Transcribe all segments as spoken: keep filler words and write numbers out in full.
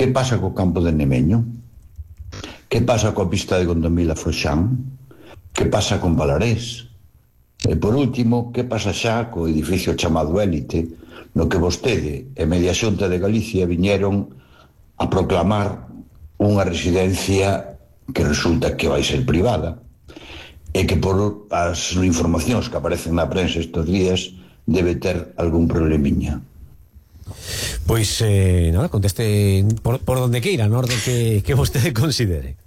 Que pasa co campo de Nemeño? Que pasa coa pista de Gondomila Foxán? Que pasa con Valarés? E por último, que pasa xa co edificio chamado Élite, no que vostede e media Xunta de Galicia viñeron a proclamar unha residencia que resulta que vai ser privada e que por as informacións que aparecen na prensa estes días debe ter algún problemiña. Pois, eh, nada, conteste por, por donde queira, no orden que, que vostede considere.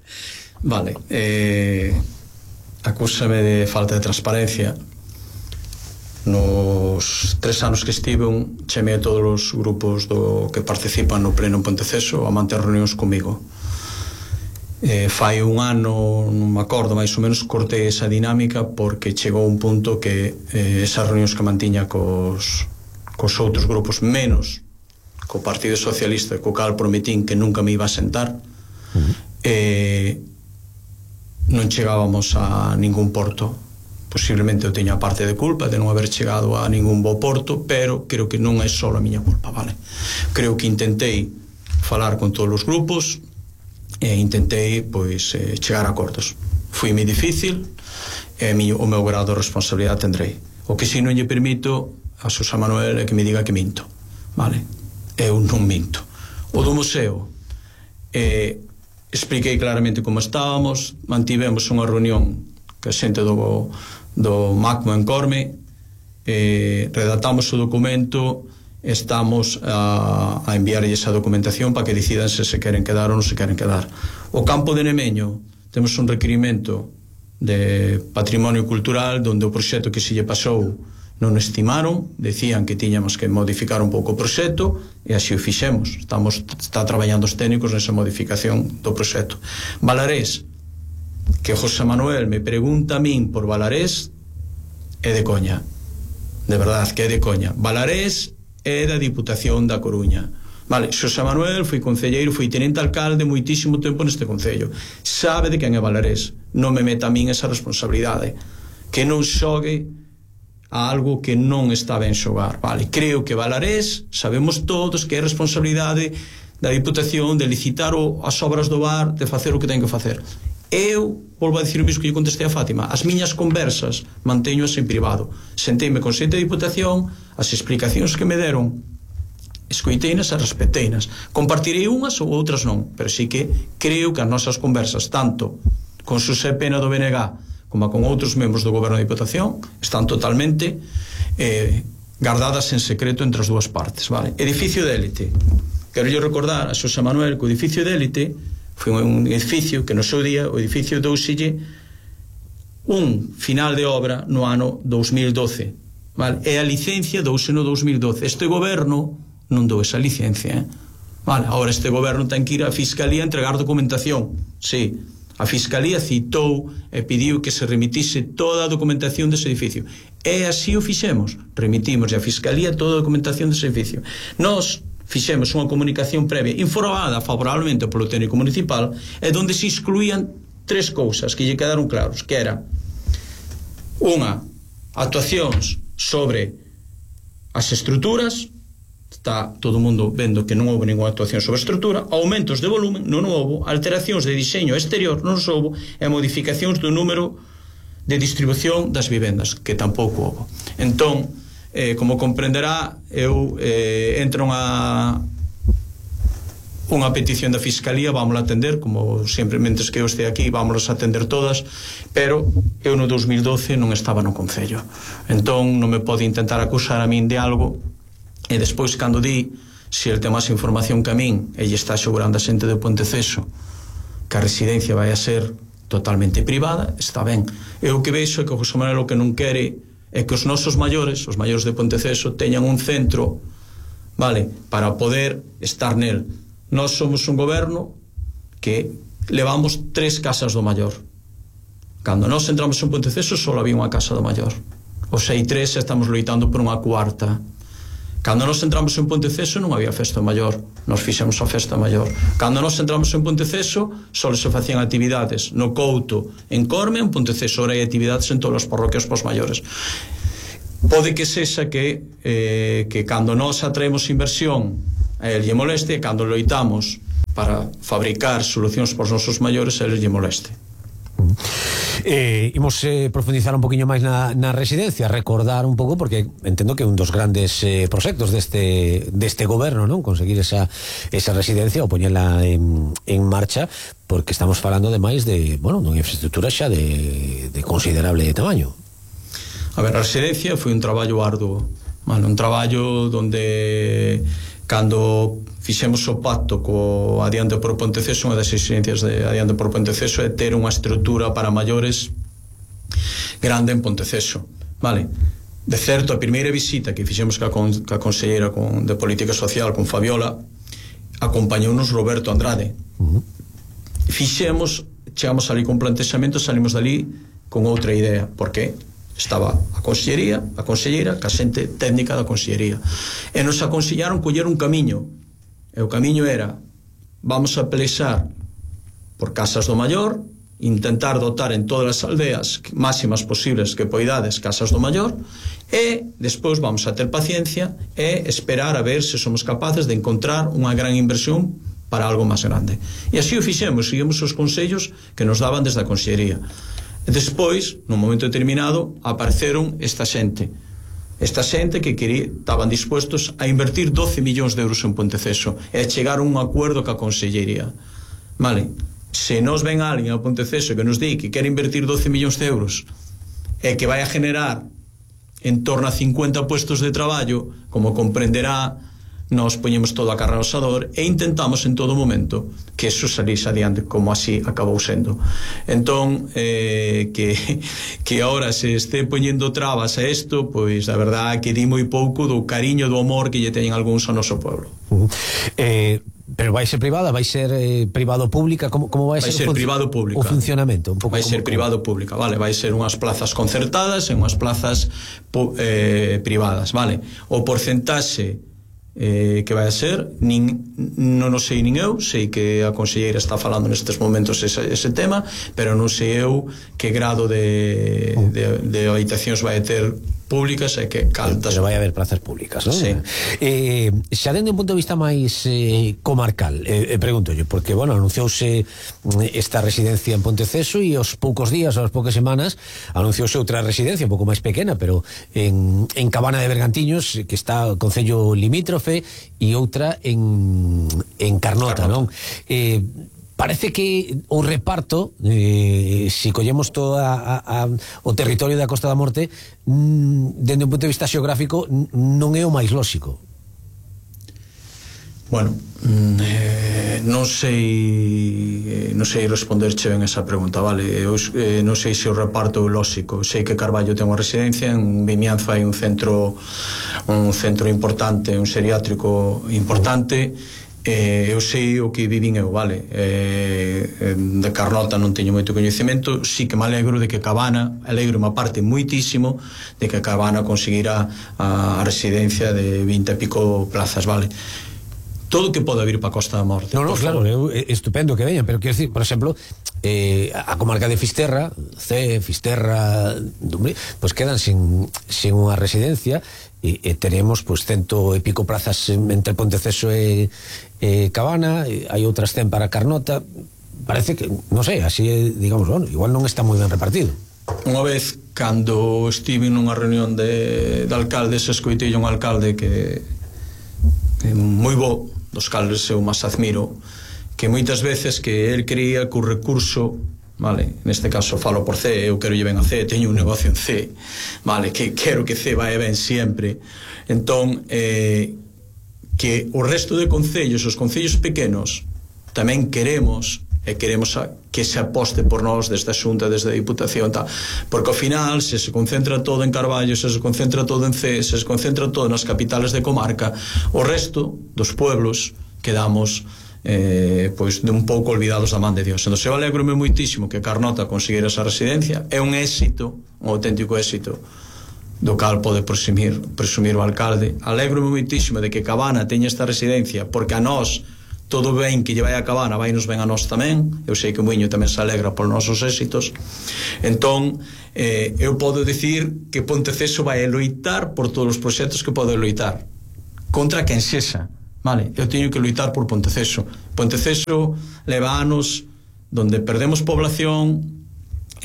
Vale, eh, acúsame de falta de transparencia. Nos tres anos que estiven, chamei a todos os grupos do que participan no pleno en Ponteceso a manter reunións comigo. Eh, fai un ano, non me acordo, máis ou menos cortei esa dinámica porque chegou un punto que eh, esas reunións que mantiña cos, cos outros grupos, menos co Partido Socialista, co cal prometín que nunca me iba a sentar, uh-huh. eh, non chegábamos a ningún porto. Posiblemente eu teña parte de culpa de non haber chegado a ningún bo porto, pero creo que non é só a miña culpa, vale? Creo que intentei falar con todos os grupos e intentei, pois, eh, chegar a acordos. Foi moi difícil e o meu grado de responsabilidade tendrei. O que si non lle permito a Xosé Manuel é que me diga que minto, vale? Eu non minto. O do museo, eh, expliquei claramente como estábamos, mantivemos unha reunión que a xente do, do MACMO en Corme, eh, redactamos o documento, estamos a, a enviarlle esa documentación para que decidan se se queren quedar ou non se queren quedar. O campo de Nemeño, temos un requerimento de patrimonio cultural donde o proxecto que se lle pasou non estimaron, decían que tiñamos que modificar un pouco o proxecto e así o fixemos. Estamos, está traballando os técnicos nesa modificación do proxecto. Valarés, que José Manuel me pregunta a min por Valarés, é de coña, de verdad que é de coña. Valarés é da Diputación da Coruña, vale? Xosé Manuel foi concelleiro, foi tenente alcalde moitísimo tempo neste concello, sabe de quen é Valarés. Non me meta a min esa responsabilidade, que non xogue a algo que non está ben xogar, vale? Creo que Valarés, sabemos todos que é responsabilidade da Diputación de licitar o, as obras do bar, de facer o que ten que facer. Eu volvo a dicir o mesmo que lle contestei a Fátima, as miñas conversas manteñoas en privado, senteime con xente de Diputación, as explicacións que me deron escoiteinas e respeteinas, compartirei unhas ou outras non, pero sí que creo que as nosas conversas, tanto con Xosé Pena do B N G como con outros membros do Goberno da Diputación, están totalmente eh, guardadas en secreto entre as dúas partes, vale? Edificio de élite, quero yo recordar a Xosé Manuel que o edificio de élite foi un edificio que no seu día o edificio douselle un final de obra no ano dous mil doce, vale? E a licencia douse no dous mil doce. Este goberno non dou esa licencia, eh? Vale, agora este goberno ten que ir á Fiscalía a entregar documentación, sí. A Fiscalía citou e pediu que se remitise toda a documentación dese edificio. E así o fixemos. Remitimos a Fiscalía toda a documentación dese edificio. Nós fixemos unha comunicación previa informada favorablemente polo técnico municipal e donde se excluían tres cousas que lle quedaron claros, que era unha, actuacións sobre as estruturas. Está todo o mundo vendo que non houve ninguna actuación sobre a estrutura, aumentos de volumen non houve, alteracións de diseño exterior non houve e modificacións do número de distribución das vivendas que tampouco houve. Entón, eh, como comprenderá, eu eh, entro a unha petición da Fiscalía, vámola atender, como sempre, mentres que eu este aquí, vámolas atender todas, pero eu no dous mil doce non estaba no Concello. Entón, non me pode intentar acusar a min de algo. E despois, cando di se el ten máis información que a min e lle está asegurando a xente de Ponteceso que a residencia vai a ser totalmente privada, está ben. Eu o que vexo é que o José Manuel o que non quere é que os nosos maiores, os maiores de Ponteceso, teñan un centro, vale, para poder estar nel. Nós somos un goberno que levamos tres casas do maior. Cando nós entramos en Ponteceso só había unha casa do maior. Os hai tres e estamos loitando por unha cuarta. Cando nós entramos en Ponteceso non había festa maior, nós fixemos a festa maior. Cando nós entramos en Ponteceso só se facían actividades no Couto, en Corme, en Ponteceso, ora hai actividades en todas as parroquias pos maiores. Pode que sexa que eh, que cando nós atraemos inversión a el lle moleste, cando loitamos para fabricar solucións para os nosos maiores eles lle moleste. Eh, imos eh, profundizar un poquinho máis na, na residencia, recordar un pouco, porque entendo que un dos grandes eh, proxectos deste, deste goberno, non? Conseguir esa, esa residencia ou poñela en, en marcha, porque estamos falando de máis de, bueno, dunha infraestructura xa de, de considerable tamaño. A ver, a residencia foi un traballo arduo, vale, un traballo donde cando fixemos o pacto co Adiante por Ponteceso, unha das exigencias de Adiante por Ponteceso é ter unha estrutura para maiores grande en Ponteceso, vale? De certo, a primeira visita que fixemos ca, con, ca conselleira con, de Política Social con Fabiola, acompañounos Roberto Andrade. Uh-huh. Fixemos, chegamos ali con plantexamento, salimos dali con outra idea, porque estaba a consellería, a conselleira, ca xente técnica da consellería, e nos aconsellaron coller un camiño, e o camiño era: vamos a pelexar por casas do maior, intentar dotar en todas as aldeas máximas posibles que poidades casas do maior, e despois vamos a ter paciencia e esperar a ver se somos capaces de encontrar unha gran inversión para algo máis grande. E así o fixemos, seguimos os consellos que nos daban desde a consellería. E despois, nun momento determinado, apareceron esta xente esta xente que quería, estaban dispuestos a invertir doce millóns de euros en Ponteceso e a chegar a un acuerdo ca consellería. Vale, se nos ven alguén a Ponteceso que nos di que quere invertir doce millóns de euros e que vai a generar en torno a cincuenta puestos de traballo, como comprenderá, nos poñemos todo a carra ao asador e intentamos en todo momento que eso salís adiante, como así acabou sendo. Entón, eh, que, que ahora se este poñendo trabas a isto, pois a verdade que di moi pouco do cariño, do amor que lle teñen algúns ao noso pueblo. Uh-huh. eh, pero vai ser privada, vai ser eh, privado-pública, como, como vai, vai ser, ser privado-pública, o funcionamento? Un pouco vai ser privado-pública, vale, vai ser unhas plazas concertadas e unhas plazas eh, privadas, vale. O porcentaxe Eh, que vai a ser nin, non o sei nin eu, sei que a conselleira está falando nestes momentos ese, ese tema, pero non sei eu que grado de, de, de habitacións vai ter públicas e que caltas. Pero vai haber plazas públicas, non? Sí. Eh, xa dende un punto de vista máis eh, comarcal, eh, eh, pregunto yo, porque, bueno, anunciouse esta residencia en Ponteceso e aos poucos días, aos poucas semanas, anunciouse outra residencia un pouco máis pequena, pero en, en Cabana de Bergantiños, que está o concello limítrofe, e outra en, en Carnota, Carnota. Non? Eh, parece que o reparto, eh, se collemos todo a, a, a, o territorio da Costa da Morte, mm, dende un punto de vista xeográfico, non é o máis lóxico. Bueno, eh, non sei non sei responderche ben esa pregunta, vale? Eu eh, non sei se o reparto é lóxico. Sei que Carballo ten unha residencia, en Vimianzo hai un centro un centro importante, un xeriátrico importante. Eh, eu sei o que vivín eu, vale? Eh, de Carnota non teño moito coñecemento, sí que me alegro de que Cabana, alegro unha parte moitísimo de que Cabana conseguirá a, a residencia de vinte e pico plazas, vale? Todo o que pode vir para a Costa da Morte. No, no, claro, é estupendo que veñan, pero quero decir, por exemplo, eh, a comarca de Fisterra, C, Fisterra, Dumbré, pois pues quedan sin, sin unha residencia e, e teremos pois pues, cento e pico plazas entre Ponteceso e, e Cabana, e hai outras cen para Carnota. Parece que, non sei, así, digamos, bueno, igual non está moi ben repartido. Unha vez, cando estive nunha reunión de, de alcaldes, escoitei un alcalde que, que moi bo, dos cales eu máis admiro, que moitas veces que el creía que o recurso, vale, neste caso falo por C, eu quero lle ben a C, teño un negocio en C, vale, que quero que C vai ben sempre, entón eh, que o resto de concellos, os concellos pequenos, tamén queremos e queremos a, que se aposte por nós desde a Xunta, desde a Diputación, tal, porque ao final se se concentra todo en Carballo, se se concentra todo en C, se se concentra todo nas capitales de comarca, o resto dos pueblos quedamos eh, pois de un pouco olvidados da man de Dios. Entón, eu alegro-me moitísimo que Carnota conseguira esa residencia, é un éxito, un auténtico éxito do cal pode presumir, presumir o alcalde. Alegro-me moitísimo de que Cabana teña esta residencia, porque a nós todo ben que lle vai a Cabana, vai nos ben a nós tamén. Eu sei que o Muiño tamén se alegra por nosos éxitos. Entón, eh, eu podo dicir que Ponteceso vai a loitar por todos os proxectos que pode loitar, contra quen sexa, vale? Eu teño que luitar por Ponteceso. Ponteceso leva anos donde perdemos población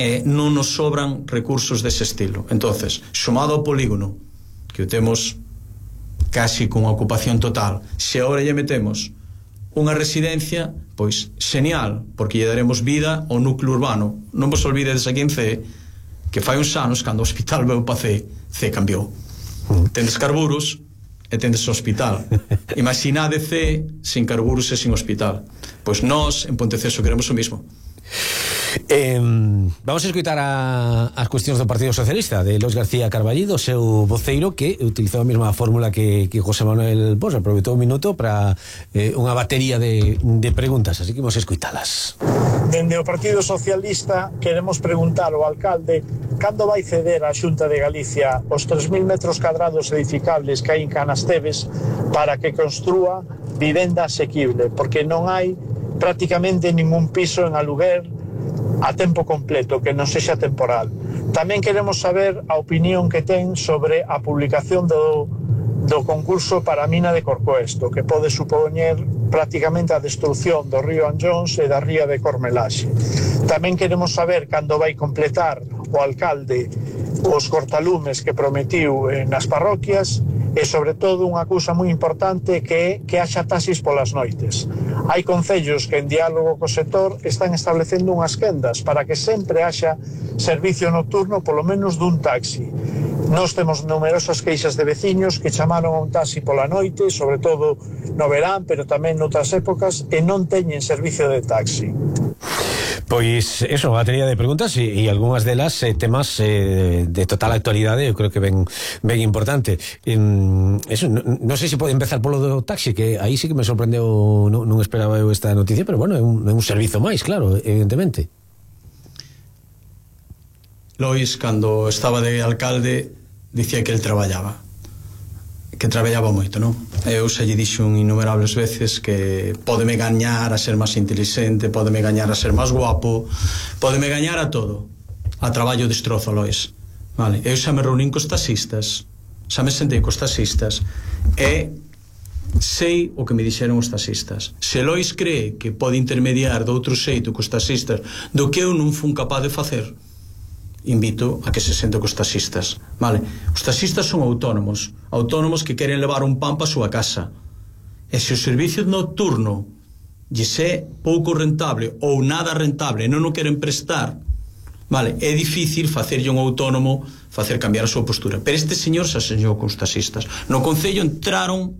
e non nos sobran recursos dese estilo. Entonces, sumado ao polígono, que o temos casi con ocupación total, se agora lle metemos unha residencia, pois genial, porque lle daremos vida ao núcleo urbano. Non vos olvidedes aquí en C que fai uns anos, cando o hospital veu pa C, C cambiou. Tendes carburos e tendes o hospital. Imaginade C sin carburos e sin hospital. Pois nós en Ponteceso queremos o mismo. Eh, vamos a escutar a, as cuestións do Partido Socialista de Lois García Carballido, seu voceiro, que utilizou a mesma fórmula que, que José Manuel Bosch, aproveitou un minuto para eh, unha batería de, de preguntas, así que vamos a escuitalas. Dende o Partido Socialista queremos preguntar ao alcalde cando vai ceder a Xunta de Galicia os tres mil metros cadrados edificables que hai en Canasteves para que construa vivenda asequible, porque non hai prácticamente ningún piso en aluguer a tempo completo, que non sexa temporal. Tamén queremos saber a opinión que ten sobre a publicación do, do concurso para a mina de Corcoesto, que pode supoñer prácticamente a destrucción do río Anllóns e da ría de Cormelaxe. Tamén queremos saber cando vai completar o alcalde os cortalumes que prometiu nas parroquias e, sobre todo, unha cousa moi importante que é que haxa taxis polas noites. Hai concellos que, en diálogo co sector, están establecendo unhas quendas para que sempre haxa servicio nocturno, polo menos dun taxi. Nós temos numerosas queixas de veciños que chamaron a un taxi pola noite, sobre todo no verán, pero tamén noutras épocas, e non teñen servicio de taxi. Pois eso, batería de preguntas e, e algunhas delas eh, temas eh, de total actualidade, eu creo que ben, ben importante. En, eso, non no sei se pode empezar polo do taxi, que aí sí que me sorprendeu, non, non esperaba eu esta noticia, pero bueno, é un, é un servizo máis, claro, evidentemente. Lois, cando estaba de alcalde, dicía que el traballaba, que traballaba moito, non? Eu xa lle dixo innumerables veces que pódeme gañar a ser máis inteligente, pódeme gañar a ser máis guapo, pódeme gañar a todo. A traballo destrozo, Lois. Vale, eu xa me reunín cos taxistas, xa me sentei cos taxistas e sei o que me dixeron os taxistas. Se Lois cree que pode intermediar de outro xeito cos taxistas do que eu non fun capaz de facer, invito a que se sente cos taxistas, vale? Os taxistas son autónomos, autónomos que queren levar un pan pa súa casa. E se o servicio nocturno lle é pouco rentable ou nada rentable e non o queren prestar, vale, é difícil facerlle un autónomo facer cambiar a súa postura. Pero este señor se aseñou cos taxistas. No concello entraron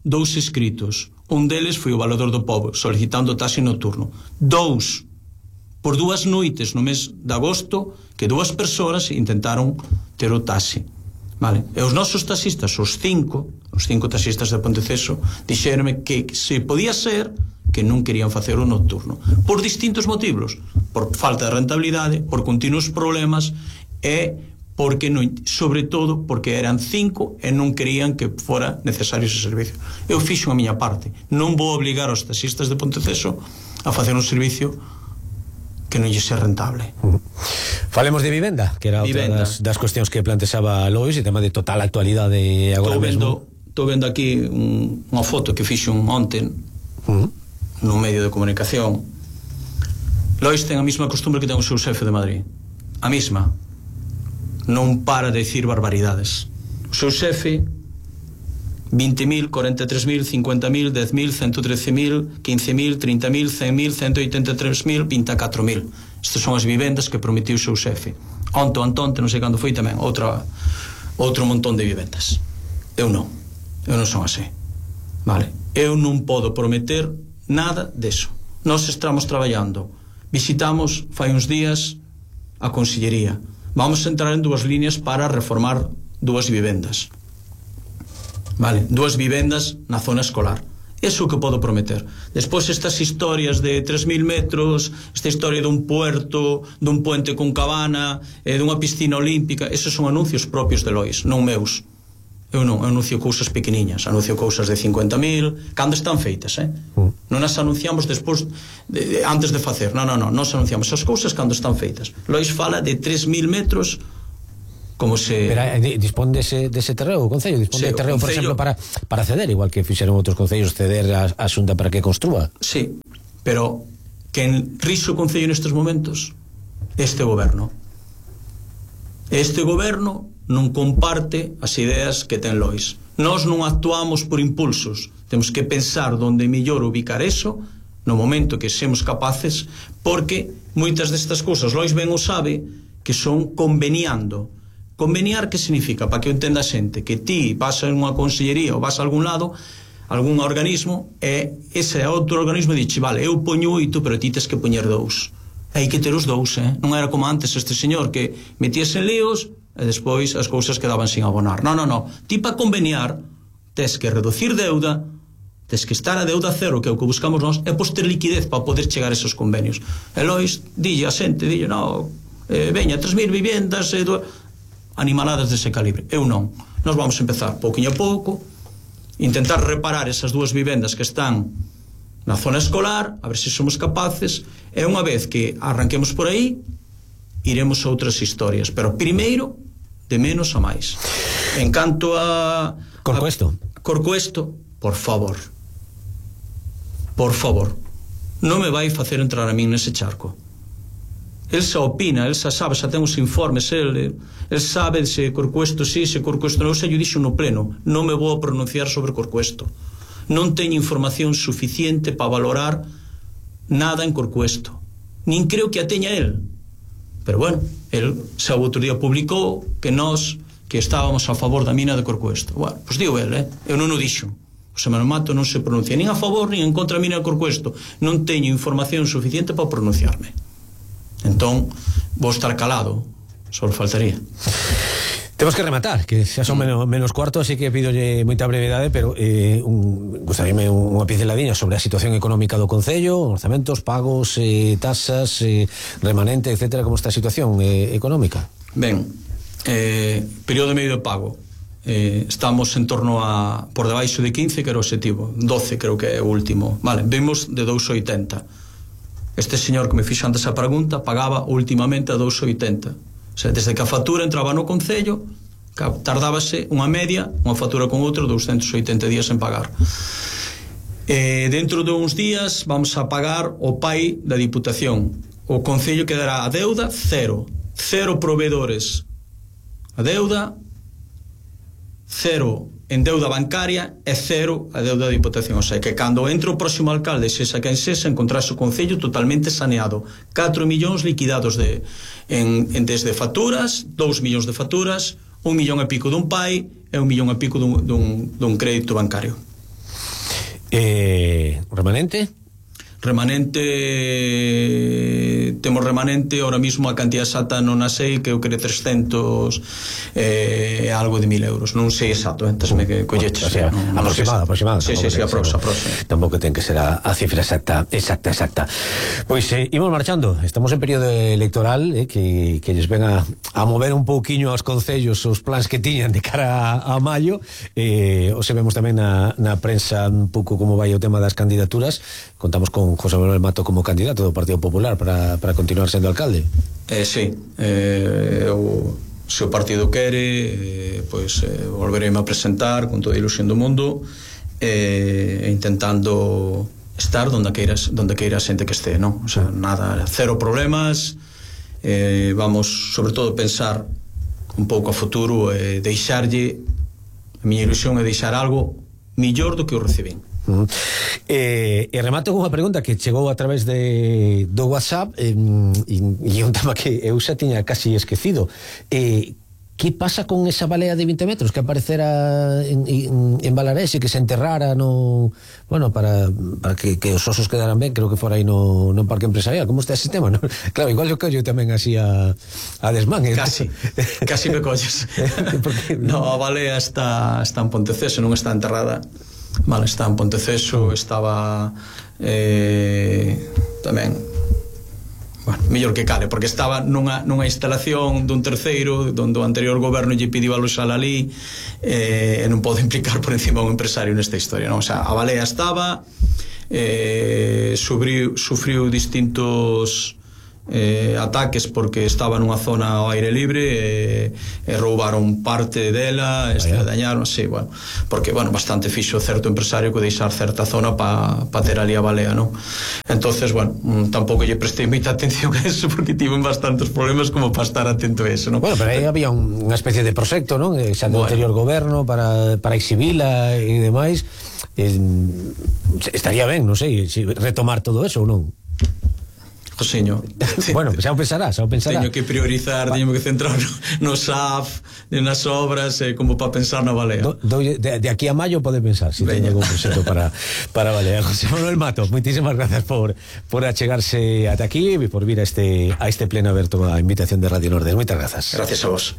dous escritos. Un deles foi o Valedor do Pobo solicitando taxi nocturno. Dous por dúas noites no mes de agosto que dúas persoas intentaron ter o taxi, vale? E os nosos taxistas, os cinco os cinco taxistas de Ponteceso, dixéronme que se podía ser que non querían facer o nocturno por distintos motivos, por falta de rentabilidade, por continuos problemas e porque non, sobre todo porque eran cinco e non querían que fora necesario ese servicio. Eu fixo a miña parte, non vou obligar aos taxistas de Ponteceso a facer un servicio que non lle sea rentable. Uh-huh. Falemos de vivenda, que era outra das, das cuestións que plantexaba Lois, e tema de total actualidade agora mesmo. Estou vendo aquí un, unha foto que fixo un onte uh-huh. nun medio de comunicación. Lois ten a mesma costumbre que ten o seu xefe de Madrid, a mesma, non para de dicir barbaridades. O seu xefe vinte mil, cuarenta e tres mil, cincuenta mil, dez mil, ciento trece mil, quince mil, trinta mil, cen mil, ciento oitenta e tres mil, vinte e catro mil. Estas son as vivendas que prometiu o seu xefe. Onto, antonte, non sei cando foi tamén outra, outro montón de vivendas. Eu non, eu non son así, vale? Eu non podo prometer nada deso. Nós estamos traballando, visitamos fai uns días a Consellería, vamos a entrar en dúas líneas para reformar dúas vivendas, vale, dúas vivendas na zona escolar. Eso que podo prometer. Despois estas historias de tres mil metros, esta historia dun puerto, dun puente con cabana, eh, dunha piscina olímpica, esos son anuncios propios de Lois, non meus. Eu non, eu anuncio cousas pequeniñas, anuncio cousas de cincuenta mil, cando están feitas, eh? Mm. Non as anunciamos despois de, de, antes de facer. Non, non, non, nós anunciamos as cousas cando están feitas. Lois fala de tres mil metros como se... Pero eh, dispón dese, dese terreo, o Concello dispón sí, de terreo, Concello... por exemplo, para, para ceder, igual que fixeron outros concellos, ceder a, a Xunta para que construa. Sí, pero quen rixe o Concello nestes momentos este goberno. Este goberno non comparte as ideas que ten Lois. Nós non actuamos por impulsos, temos que pensar onde mellor ubicar eso no momento que semos capaces, porque moitas destas cousas Lois ben o sabe que son conveniando. Conveniar que significa, para que o entenda a xente, que ti vas a unha consellería ou vas a algún lado, algún organismo, e ese outro organismo dixe, vale, eu poño oito, pero ti tes que poñer dous. Hai que ter os dous, eh? Non era como antes este señor que metíase en líos e despois as cousas quedaban sin abonar. Non, non, non. Ti para conveniar tes que reducir deuda, tes que estar a deuda cero, que é o que buscamos nós, e pois ter liquidez para poder chegar a esos convenios. E Lois dille a xente, dille, no, eh, veña, tres mil viviendas, eh, do... animaladas dese calibre. Eu non. Nós vamos empezar pouquinho a pouco, intentar reparar esas dúas vivendas que están na zona escolar, a ver se somos capaces, e unha vez que arranquemos por aí, iremos a outras historias, pero primeiro de menos a máis. En canto a Corcoesto. A, Corcoesto, por favor. Por favor. Non me vai facer entrar a min nese charco. El xa opina, el xa sabe, xa ten os informes, el, el sabe se Corcoesto sí, se Corcoesto non, xa lle dixo no pleno, non me vou a pronunciar sobre Corcoesto. Non teño información suficiente para valorar nada en Corcoesto. Nin creo que a teña el. Pero bueno, el xa o outro día publicou que nós que estábamos a favor da mina de Corcoesto. Bueno, pois digo el, eh? Eu non o dixo. O Semana Mato non se pronuncia nin a favor nin en contra da mina de Corcoesto. Non teño información suficiente para pronunciarme. Entón, vou estar calado. Só faltaría. Temos que rematar, que xa son menos, menos cuarto, así que pidolle moita brevedade, pero eh, un, gustaríame unha pinceladiña sobre a situación económica do Concello, orzamentos, pagos, eh, tasas, eh, remanente, etcétera. Como está a situación eh, económica? Ben, eh, período medio de pago, eh, estamos en torno a por debaixo de quince, que era o objetivo, doce creo que é o último, vale, vimos de dous oitenta. Este señor que me fixo antes a pregunta pagaba últimamente a dous oitenta. O sea, desde que a factura entraba no Concello, tardábase unha media, unha factura con outra, doscientos oitenta días en pagar. E dentro de uns días vamos a pagar o P A I da Diputación. O Concello quedará a deuda cero. Cero proveedores a deuda, cero en deuda bancaria e cero a deuda da Diputación. O sea, que cando entre o próximo alcalde, sexa quen sexa, encontrase o Concello totalmente saneado. catro millóns liquidados de, en, en desde facturas, dous millóns de facturas, un millón e pico dun P A I e un millón e pico dun, dun, dun crédito bancario. Eh, remanente? Remanente, temos remanente ahora mismo a cantidad exacta non a sei, que eu creo trescentos e eh, algo de mil euros, non sei exacto, entón me que colleches, o sea, non, aproximada, aproximada. Sí, sí, sí, aproxa, aproxa. Tampouco ten que ser a, a cifra exacta, exacta, exacta. Pois eh, imos marchando, estamos en período electoral, eh, que, que lles ven a, a mover un pouquiño aos concellos os plans que tiñan de cara a, a maio, eh, o se vemos tamén na, na prensa un pouco como vai o tema das candidaturas. Contamos con José Manuel Mato como candidato do Partido Popular para, para continuar sendo alcalde. Eh, sí, eh, eu, se o partido quere, eh, pois eh, volvereme a presentar con toda a ilusión do mundo, eh, intentando estar donde queira, donde queira a xente que este, non? O sea, nada, cero problemas, eh, vamos sobre todo pensar un pouco a futuro e eh, deixarlle, a miña ilusión é deixar algo millor do que o recibín. Uh -huh. eh, e remato con unha pregunta que chegou a través de do WhatsApp, eh, e, e un tema que eu xa tiña casi esquecido. Eh, que pasa con esa balea de vinte metros que aparecera en, en, en Balarés e que se enterrara no, bueno, para, para que, que os osos quedaran ben, creo que fora aí no, no parque empresarial? Como está ese sistema? No? Claro, igual yo collo tamén así a, a desmán, eh? Casi, casi me colles. Porque, no, a balea está, está en Ponteceso, non está enterrada. Vale, está en Ponteceso, estaba eh, tamén, bueno, mellor que cale, porque estaba nunha, nunha instalación dun terceiro donde o anterior goberno lle pidiu aloxala ali, eh, e non pode implicar por encima un empresario nesta historia, non? O sea, a balea estaba, eh, sufriu, sufriu distintos eh, ataques porque estaba nunha zona ao aire libre e, e roubaron parte dela, estradañaron, sí, bueno, porque, bueno, bastante fixo certo empresario que deixar certa zona para pa ter ali a balea, non? Entonces, bueno, tampouco lle prestei moita atención a eso porque tiven bastantes problemas como para estar atento a eso, non? Bueno, pero aí había unha especie de proxecto, non? Xa do bueno. anterior goberno para, para exhibila e demais. Eh, estaría ben, non sei, retomar todo eso ou non? Josiño, bueno, xa o pensará, xa o pensará. Teño que priorizar, teño que centrar no, no S A F, nas obras, eh, como para pensar na balea. Do, do, de, de aquí a maio pode pensar se si teño algún proxecto para, para balea. José Manuel Mato, moitísimas grazas por, por achegarse ata aquí e por vir a este, a este pleno aberto a invitación de Radio Nordés. Moitas grazas. Gracias a vos.